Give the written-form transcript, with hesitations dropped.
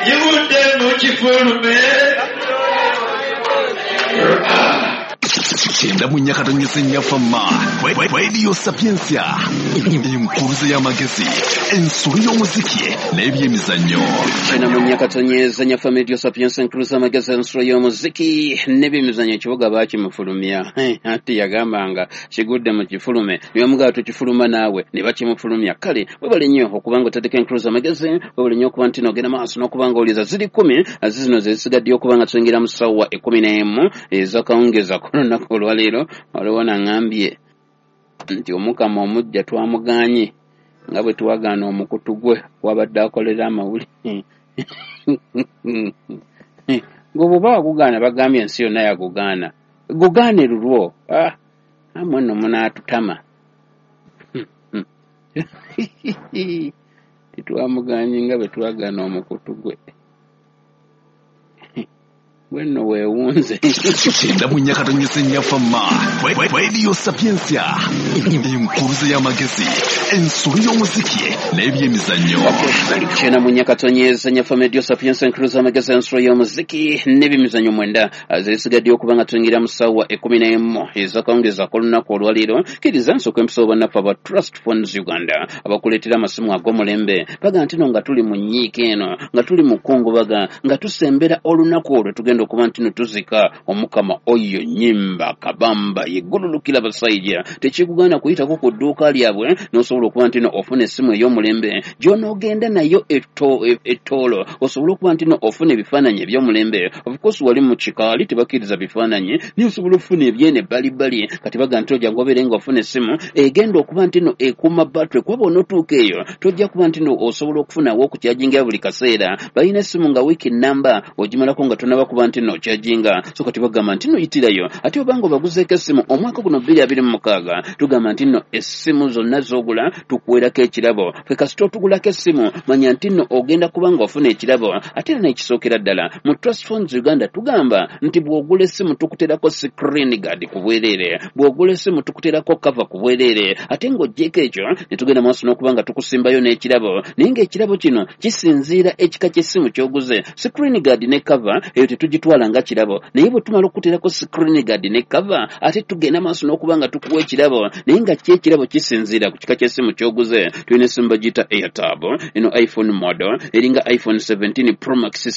Givudde mu kifulume. 94.4 Nyafama Radio Sapientia, enkuruze y'amagezi, ensolo y'omuziki n'ebyemizannyo. 94.4 Nyafama Radio Sapientia, enkuruze y'amagezi, ensolo y'omuziki n'ebyemizannyo. Ekibuga baakimufulumya, anti yagambanga kigudde mu kifulume, ne bamugamba tukifuluma naawe, ne bakimufulumya. Kale webale nnyo okuba nga otadeko enkuruze amagezi, webale nnyo okuba nti nogenda maaso n'okuba nga owuliriza. Ziri 10 zino ze zisigaddeyo okuba nga tuyingira mu ssaawa 11 ez'akawungeezi ku lunaku olwaleero. Waliwo naŋŋambye nti Omukama omujja twamuganye nga bwe twagaana omukutu gwe wabadde akolera amawulire. Gwe bw'oba wagugaana, bagambye ensi yonna yagugaana, gugaane lulwo. Amwe nno munaatutama. Tetwamuganye nga bwe twagaana omukutu gwe. Gwe nno weewunze. 94.4 Nyafama Radio Sapientia, enkuruze y'amagezi, ensolo y'omuziki n'ebyemizannyo. 94.4 Nyafama Radio Sapientia, enkuruze y'amagezi, ensolo y'omuziki n'ebyemizannyo. 9 zisigaddeyo okuba nga tuyingira mu ssaawa 11 ez'akawungeezi ak'olunaku olwaleero. Kkiriza nsooka empiso bannaffe aba Trust Phones Uganda abakuleetera amasimu ag'omulembe. Baga nti no nga tuli mu nnyiika eno, nga tuli mu kkungubaga, nga tusembera olunaku olwo tugenda okuba nti no tuzika Omukama oyo Nyimba Kabamba yeggululukira basajja. Tekikugaana kuyitako ku dduuka lyabwe n'osobola okuba nti no ofuna essimu ey'omulembe gy'onoogenda nayo ettoolo, osobola okuba nti no ofuna ebifaananyi eby'omulembe. Of course wali mu kikaali tebakkiriza bifaananyi, naye osobola okufuna ebyene ebbalibbali. Kati baga nti ojja ngobeere ng'ofuna essimu egenda okuba nti no ekuuma battery, kuba bw'onootuuka eyo tojja kuba nti no osobola okufunawo okukyajingira buli kaseera. Balina essimu nga wiiki namba ogimalako nga tonaba kuba nti no okyajinga. So kati bagamba nti no yitirayo, ate obanga obaguzeeko essimu omwaka guno 2026, tugamba nti nno essimu zonna z'ogula tukuweerako ekirabo. Ffe kasita otugulako essimu, manya nti nno ogenda kuba nga ofuna ekirabo. Ate era n'ekisookera ddala, mu Trust Phones Uganda tugamba nti bw'ogula essimu tukuterako screen guard ku bwereere, bw'ogula essimu tukuterako cover ku bwereere, ate ng'oggyeko ekyo ne tugenda maaso n'okuba nga tukusimbayo n'ekirabo. Naye ng'ekirabo kino kisinziira ekika ky'essimu ky'oguze. Screen guard ne cover eyo tetugitwala nga kirabo, naye bwe tumala okukuterako screen guard ne cover, ate tugenda maaso n'okuba nga tukuwa ekirabo, naye nga kyo ekirabo kisinziira ku kika ky'essimu ky'oguze. Tulina essimu bagiyita Airtab, eno iPhone model eringa iPhone 17 Pro Max.